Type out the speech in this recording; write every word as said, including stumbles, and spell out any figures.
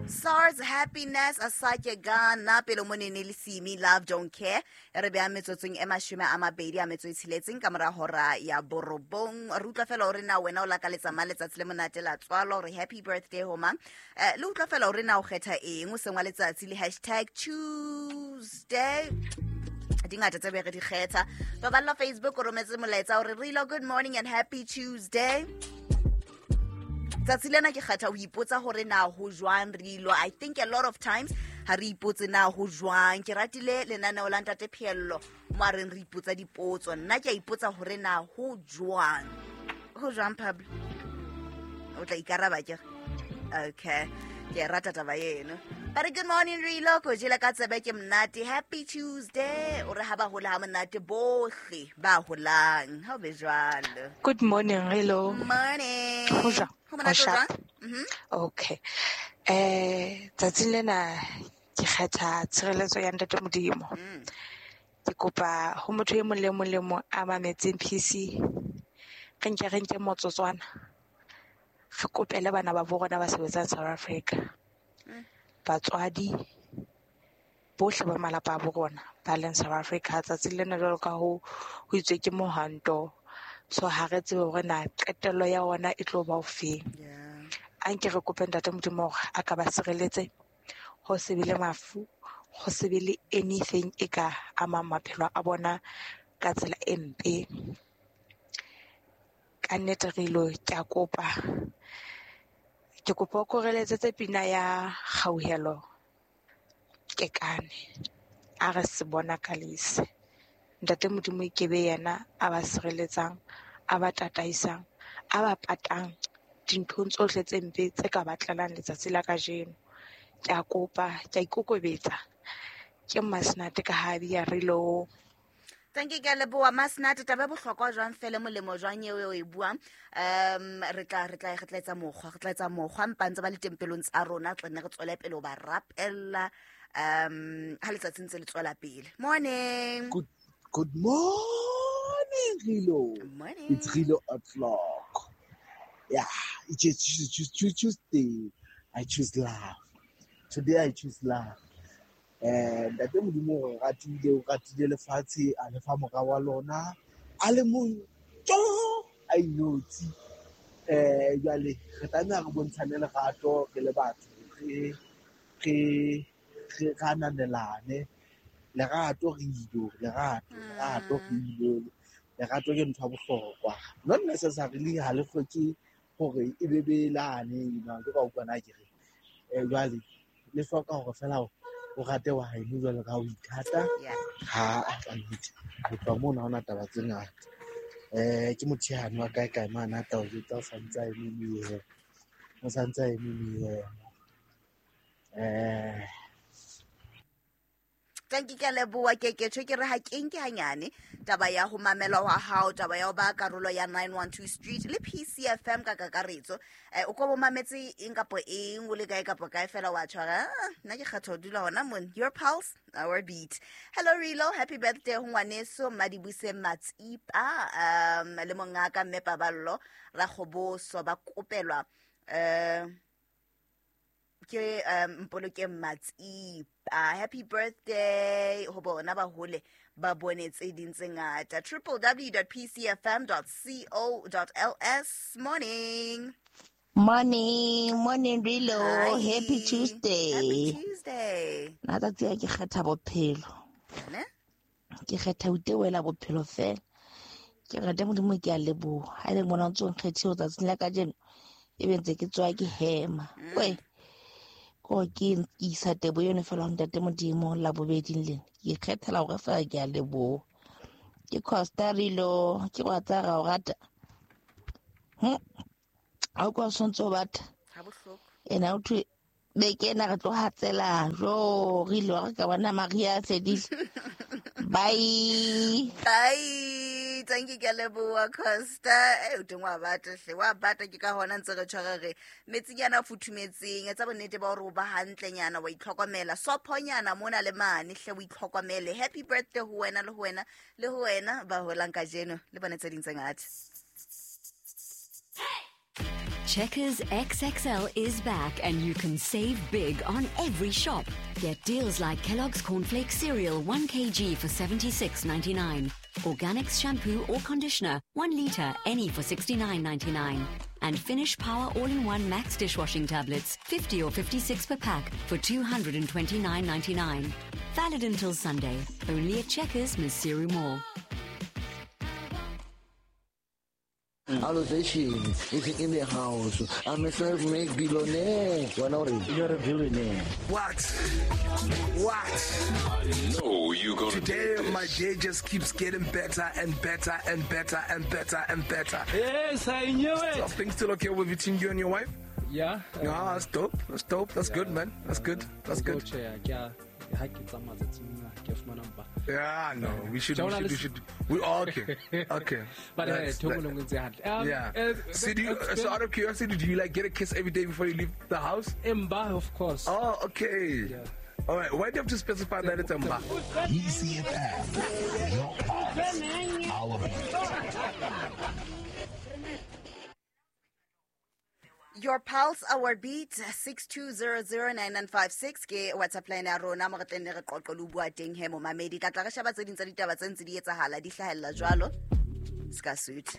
SARS happiness asake gana pele monene le simi love don't care re be a metsotsong e mashome a mabedi a metso e tsheletseng ka mora hora ya borobong. Re utlwa fela hore na wena o lakaletsa mang letsatsi le monate la tswalo, re happy birthday ho mang. Eh, le utlwa fela hore na o kgetha eng o sengwa letsatsi le hashtag Tuesday. Dingata tse be re di kgetha. Baballa Facebook o rometse molaetsa hore Rilo, good morning and happy Tuesday. Tsatsi lena ke kgetha ho ipotsa hore na ho jwang Rilo. I think a lot of times ha re ipotse na ho jwang. Ke ratile lenaneo la Ntate Pheello mo a reng re ipotsa dipotso. Nna ke a ipotsa hore na ho jwang. Ho jwang Pablo? O tla ikaraba ke? Okay. Ke rata taba eno. But good morning Rilo, ko jela ka tsebe ke monate. Happy Tuesday. O re ha ba hola ha monate bohle ba holang. Ha o be jwalo. Good morning Rilo. Morning. Ho jwang? Ho monate Ho jwang? sharp. Mhm. Okay. Eh, tsatsing lena ke kgetha tshireletso ya Ntate Modimo. Mm. Ke kopa ho motho e mong le mong le mong a mametseng P C. Re nke re nke motsotswana. Re kopele bana ba bo rona ba sebetsang South Africa. Mm. Batswadi bohle ba malapa a bo rona ba leng South Africa tsatsing lena jwalo ka ho ho itswe ke mohanto. So ha re tsebe hore na qetello ya ona e tlo ba o feng. Yeah. A nke re kope Ntate Modimo hore a ka ba sireletse ho se be le mafu, ho se be le anything e ka amang maphelo a bona ka tsela e mpe. Ka nnete re ilo ke a kopa. Ke kopa o ko re letsetse pina ya Kgauhelo Kekane. A re se bona ka lese. Ntate Modimo e ke be yena a ba sireletsang, a ba tataisang, a ba patang dinthong tsohle tse mpe tse ka ba tlelang letsatsi la kajeno. Ke a kopa, ke a ikokobetsa. Ke Mmasenate ka ha bia re lo. Thank you, ke a leboha Mmasenate. Taba e bohlokwa jwang fela molemo jwang eo o e buang. Um, re tla, re tla, re tla etsa mokgwa, re tla etsa mokgwa mpa ntse ba le tempelong tsa rona, tla nne re tswele pele ho ba rapella, um, ha letsatsi ntse le tswela pele. Morning. Good, good morning, Rilo. Morning. It's Rilo o'clock. Yeah, it's just choose, choose, Tuesday. I choose love. Today I choose love. Eh, Ntate Modimo o re ratile, o ratile lefatshe, a le fa mora wa lona, a le mong, tjo, a inotshi. Eh, jwale re tlameha re bontshane lerato re le batho, re, re, re ananelane. Lerato re ilo, lerato, lerato re ilo. Lerato ke ntho ya bohlokwa. Not necessarily ha le hloke hore e be belane, you know, ke ka utlwa na ke re. Eh, jwale le hloka hore fela o rate wa haeno jwalo ka ha o ithata. Yeah. Ha a tla nnete. Ho tloha mono ha hona taba tse ngata. Eh, ke motho yane wa kae kae mane a tla o jwetsa o santse a eme meemo. O santse a eme meemo. Eh, Thank you, ke a leboha Keketho. Ke re ha ke nke hanyane taba ya ho mamelwa wa hao, taba ya ho ba karolo ya nine one two Street le P C F M ka kakaretso. Eh, o ko bo mametse eng kapo eng, o le kae kapo kae fela wa tshwara. Ah, nna ke kgetha ho dula hona mona. Your pulse, our beat. Hello Rilo, happy birthday ho ngwaneso Madibuse Matsipa, um, le mongaka Mme Paballo Rakgoboso ba kopelwa, eh, ke, um, Mpolokeng Matsipa. Happy birthday ho bona ba hole ba bone tse ding tse ngata. triple w dot p c f m dot c o dot l s. Morning. Morning, morning Rilo. Hi. Happy Tuesday. Happy Tuesday. Nna tsatsi a ke kgetha bophelo. Ne? Ke kgetha ho itewela bophelo fela. Ke rata Modimo ke a leboha. Ha e le mona o ntso nkgethile tsatsing la kajeno, e be ntse ke tswa ke hema. Mm. Weh. Ko ke isa tebo yone fela ho Ntate Modimo la bobeding lena. Ke ikgethela hore fela ke a leboha. Ke Costa Rilo, ke wa tsa ra o rata. Hm. Ha o kwa sontso o batla. Ha bohloko. Ena o thwe beke ena re tlo hatsela. Jo, Rilo re ka bona Maria a fedile. Bye. Bye. Thank you, ke a leboha Costa. Eh, o teng wa bata hle. Wa bata ke ka hona ntse re tshwara re metsinyana a futhumetseng. Etsa bonnete ba hore o ba hantlenyana, wa itlhokomela. Sophonyana mona le mane hle o itlhokomele. Happy birthday ho wena le ho wena le ho wena ba holang kajeno le bone tse ding tse ngata. Hey! Checkers X X L is back and you can save big on every shop. Get deals like Kellogg's Cornflakes cereal one kilogram for seventy-six ninety-nine, Organics shampoo or conditioner one litre any for sixty-nine ninety-nine, and Finish Power All-in-One Max dishwashing tablets fifty or fifty-six per pack for two hundred and twenty-nine ninety-nine. Valid until Sunday. Only at Checkers, Maseru Mall. Allocation is in the house. I'm a self-made billionaire. You're a billionaire. What? What? I know you gonna Today, do this. My day just keeps getting better and better and better and better and better. Yes, I knew it. Are things still okay with between you and your wife? Yeah. Yeah, uh, that's dope. That's dope. That's yeah, good, man. That's good. That's good. Yeah, no, we should, we should, we should, we all okay, okay. But uh, um, yeah. Uh, so, do you, so out of curiosity, do you like get a kiss every day before you leave the house? Mba, of course. Oh, okay. Yeah. All right. Why do you have to specify that it's Mba? E C F M, your pulse, our beat. Your pulse, our beat, six two zero zero nine nine five six ke WhatsApp line ya rona mo re tleng re qoqo le bua teng he momamedi. Tla tla re sheba tse ding tsa ditaba tse ntse di etsahala di hlahella jwalo. Ska suit.